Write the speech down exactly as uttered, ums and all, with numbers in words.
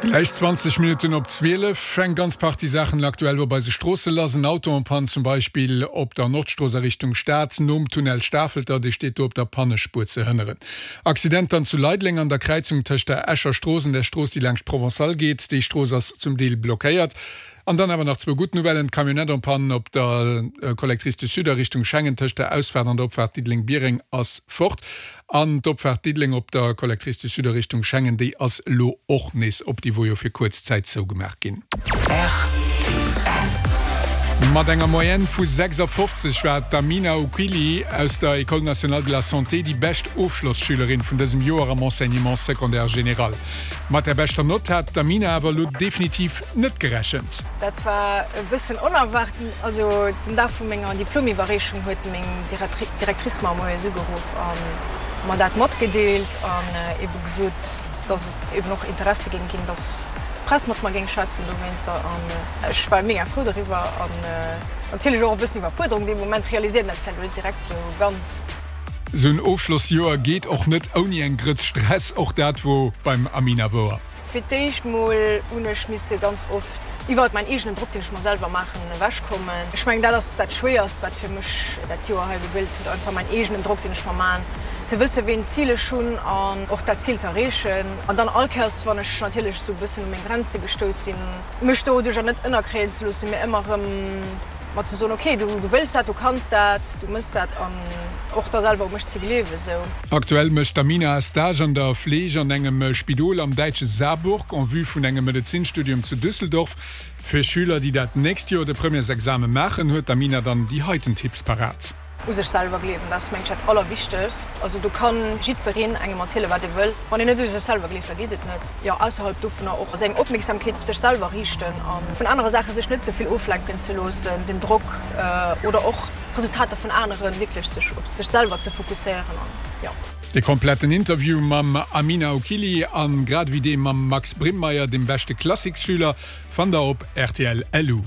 Gläich zwanzeg Minutten op zwielef. Eng ganz Partie Saachen aktuell op eise Stroosse lass. En Auto en panne zum Beispill op der Nordstrooss a Richtung Stad nom Tunnel Stafelter, dee steet do op der Pannespuer ze hënneren. Accident dann zu Leideleng an der Kräizung tëscht der Escher Strooss an der Strooss déi laanscht d'Provençale geet. Déi Strooss ass zum Deel blockéiert. An dann awer nach zwou gutt Nouvellen, D'Camionnette en panne op der Collectrice du Sud a Richtung Schengen tëscht der Ausfaart an der Opfaart Diddeleng-Biereng ass fort. An d'Opfaart Diddeleng op der Collectrice du Sud a Richtung Schengen, déi ass elo och nees op. Déi wor jo fir kuerz Zäit zougemaach ginn. Rtl. Mat enger Moyenne vu sechsafofzeg war d'Amina Oukili aus der École nationale de la santé déi bescht Ofschlosschülerin vun dësem Joer am Enseignement secondaire général. Mat der beschter Nott hat d'Amina awer elo definitiv net gerechent. Dat war e bëssen onerwaart. Also den Dag vu menger Diplomiwwerreechung huet meng Directrice mer moies ugeruff a mer dat matgedeelt an ebe gesot, dass et eben och Interesse géing ginn, dass d'Press mat mer géing schwätzen dowéinster. An ech war mega frou doriwwer an natierlech och e bëssen Iwwerfuerderung. Dee Moment realiséiert een dat vläicht elo net direkt sou ganz. Sou en Ofschlossjoer geet och net ouni eng Grëtz Stress, och dat wor beim Amina wouer. Fir d'éischt mol hunn ech misse ganz oft iwwert mäin eegenen Drock, deen ech mer selwer maachen, ewechkommen. Ech mengen, dat ass dat Schwéierst, wat fir mech dat Joer hei gegëllt huet, einfach mäin eegenen Drock, deen ech mer maachen, ze wëssen, wéi en Zil ech hunn an och dat Zil ze erreechen. An dann all Kéiers, wann ech natierlech esou e bëssen u meng Grenze gestouss sinn, mech doduercher net ënnerkréien ze loossen, mee ëmmer erëm mer ze soen, ok, du wëlls dat, du kanns dat, du mëss dat an och da selwer u mech ze gleewen esou. Aktuell mécht d'Amina e Stage an der Fleeg an engem Spidol am däitsche Saarburg en vue vun engem Medezinstudium zu Düsseldorf. Fir Schüler, déi dat nächst Joer de Premièresexame maachen, huet d'Amina dann déi heiten Tipps parat. U sech selwer gleewen, dat ass mengen ech dat allerwichtegst. Also do kann jiddwereen engem erzielen wat e wëll, wann een net u sech selwer gleeft, da geet et net. Jo, ausserhalb dovunner och seng Opmierksamkeet op sech selwer riichten a vun anere Saache sech net ze vill oflenken ze loossen, den Drock oder och d'Resultater vun aneren, wierklech sech op sech selwer ze fokusséieren an jo. De kompletten Interview mam Amina Oukili an grad ewéi dee mam Max Brimmeyer, dem beschte Klassiksschüler, fannt der op rtl. Lu.